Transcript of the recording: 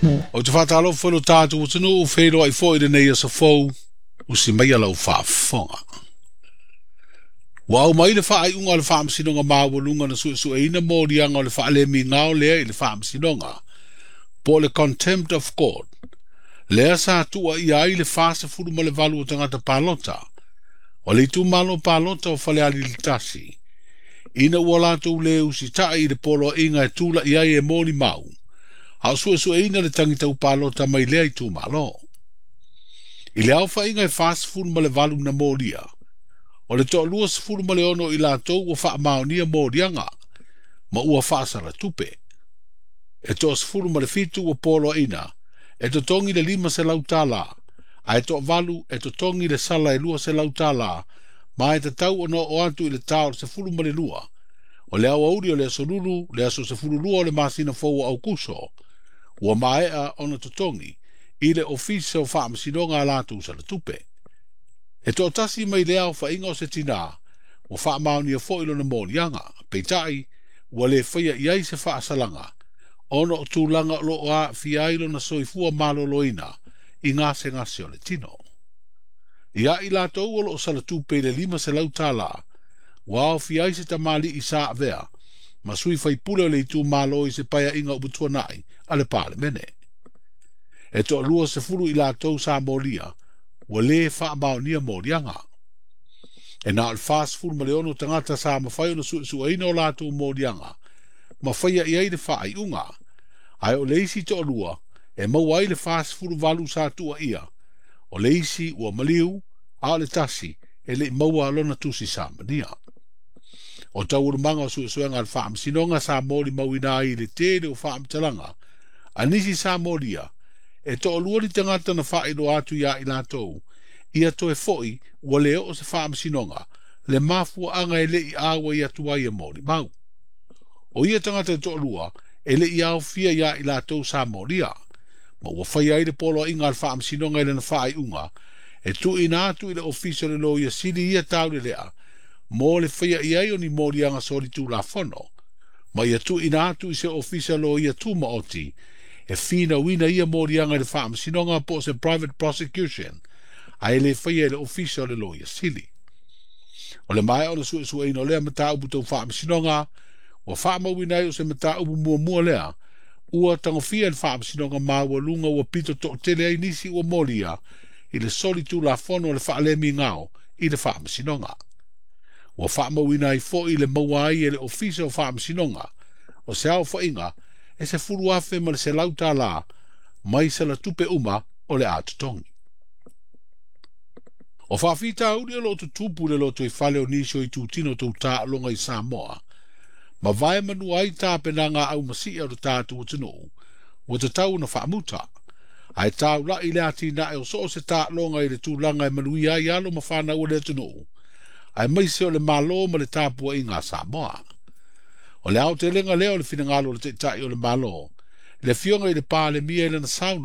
Ou te faatalofa i lo tatou atunuu, feiloai foi i lenei aso fou, usi maia lau faafofoga. Ua aumai le faaiuga a le Faamasinoga Maualuga na suesueina moliaga o le faalemigao lea i le Faamasinoga, po o le Contempt of Court, lea sa tuuaia ai le 48 o tagata palota o le itumalo palota o Falealili 1, ina ua latou lē usitai i le poloaiga e tula'i ai e molimau, a o suesueina le tagi palota mai lea itumalo. I le aofaiga e 48 na molia, o le toalua 16 o i latou ua faamaonia moliaga, ma ua faasala tupe. E toa 17 ua poloaina, e totogi le $500, ae toavalu e totogi le sala e $200, ma e tatau ona oo atu i le ta o le 12, o le aoauli o le aso Lulu, le aso 12 o le masina fou o Aukuso, ua maea ona totogi i le Ofisa o Faamasinoga a latou sala tupe. E toatasi mai lea aofaiga o se tinā, ua faamaonia foi lona moliaga, peitai ua le faia i ai se faasalaga, ona o tulaga o lo o aafia ai lona soifua maloloina i gasegase o le tino. Ia i latou o lo o sala tupe i le $500, ua aofia ai se tamalii sa avea ma sui faipule o le itumalo i se paeaiga ua tuanai a le Palemene. E toalua 10 i latou sa molia, ua lē faamaonia moliaga. E na o le 46 tagata sa mafai ona suesueina o latou moliaga, ma faia i ai le faaiuga, ae o le isi toalua e maua ai le 48 sa tuuaia, o le isi ua maliu, a o le tasi e le'i maua lona tusi samania. O taualumaga o suesuega a le Faamasinoga sa molimauina ai i le tele o faamatalaga a nisi sa molia, e toalua ni tagata na faailoa atu iā i latou, ia toe fo'i ua le oo se faamasinoga, le mafuaaga e le'i auai atu ai e molimau. O ia tagata e toalua e le'i aofia iā i latou sa molia, ma ua faia ai le poloaiga a le Faamasinoga i lana faaiuga, e tuuina atu i le Ofisa o le Loia Sili ia taulelea, mo le faia i ai o ni moliaga solitulafono, ma ia tuuina atu i se Ofisa Loia Tumaoti, e finauina ia moliaga i le Faamasinoga po o se private prosecution, ae le faia e le Ofisa o le Loia Sili. O le maea ona suesueina o lea mataupu tau Faamasinoga, ua faamauina ai o se mataupu muamua lea, ua tagofia e le Faamasinoga Maualuga ua pito toatele ai nisi ua molia i le solitulafono o le faalemigao i le Faamasinoga. Ua faamauina ai foi le maua ai e le Ofisa o Faamasinoga o se aofaiga e $10,100 mai sala tupe uma o le a totogi. O faafitauli o lo o tutupu i le lotoifale o nisi o itutino tau taaloga i Samoa, ma vae manua ai tapenaga aumasii o le tatou atunuu, ua tatau ona faamuta, ae taula'i le atinae o so o se taaloga i le tulaga e manuia ai alo ma fanau o le atunuu, aemaise o le Malo ma le tapuaiga a Samoa. O le aotelega lea o le finagalo o le Taitai o le Malo, le Afioga i le Palemia i lana saunoaga.